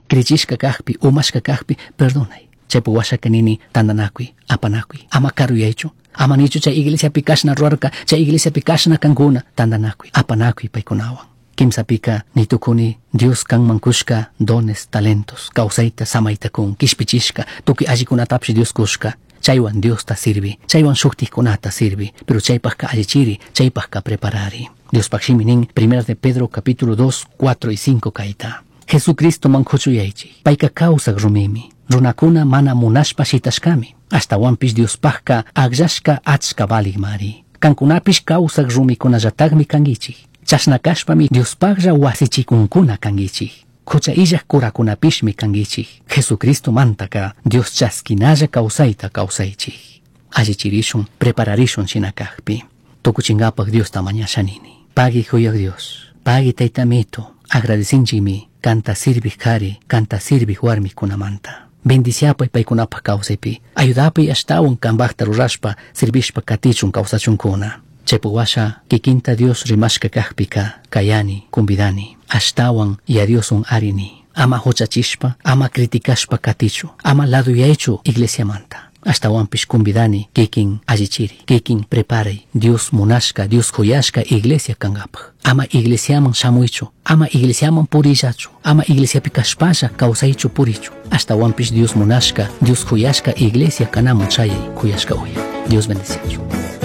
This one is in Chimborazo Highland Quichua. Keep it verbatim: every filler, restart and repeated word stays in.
Crichishka kakpi, umashka kakpi, perdonay. Chaypi washaka nini tandanakuy, apanakuy, ama karuyaychu. Ama nichu chay iglesiapi kashna ruwarka, chay iglesiapi kashna kankuna, tandanakuy, apanakuy paykunawan. Kimsapika nitukuni Dios kanman kushka dones, talentos, kawsayta, samayta kun, kishpichishka, tukuy allikunatapish Dios kushka. Chaywan Diosta sirvi, chaywan shuktikkunata sirvi, pero chaypajka allichiri, chaypajka preparari. Diospaj shimi nin, Primera de Pedro capítulo dos, cuatro y cinco kayta. Jesucristo man kuchuyaychik, payka kawsak rumimi, runakuna mana munashpa shitashkami, ashtawanpish Diospajka akllashka achka valigmari. Kankunapish kawsak rumikunallatagmi kankichik. Chashna kashpami Diospajlla wasichikunkuna kankichik. Hucha illaj kurakunapishmi kankichik. Jesucristo mantaka Dios chaskinalla kawsayta kawsaychik. Allichirishun, prepararishun shina kakpi. Tukuchinkapak Diosta mañashanini. Pagui huyak Dios, pagui taytamito, agradecinchikmi kanta sirvij kari, kanta sirvij warmikunamanta. Bendiciapay paykunapaj kawsaypi, ayudapay ashtawan kanpajta rurashpa, sirvishpa katichun kawsachunkuna. Chaypi washa kikinta Dios rimashka kakpika kayani, kumbidani, ashtawan ya Diosun arini. Ama huchachishpa, ama criticashpa katichu, ama laduyaychu iglesiamanta. Ashtawanpish kumbidani kikin allichiri, kikin preparay, Dios munashka, Dios kuyashka iglesia kankapaj. Ama iglesiaman shamuychu, ama iglesiaman purillachu, ama iglesiapi kashpalla kawsaychu purichu. Ashtawanpish Dios munashka, Dios kuyashka iglesia kanaman chayay kuyashka uya. Dios bendeciachu.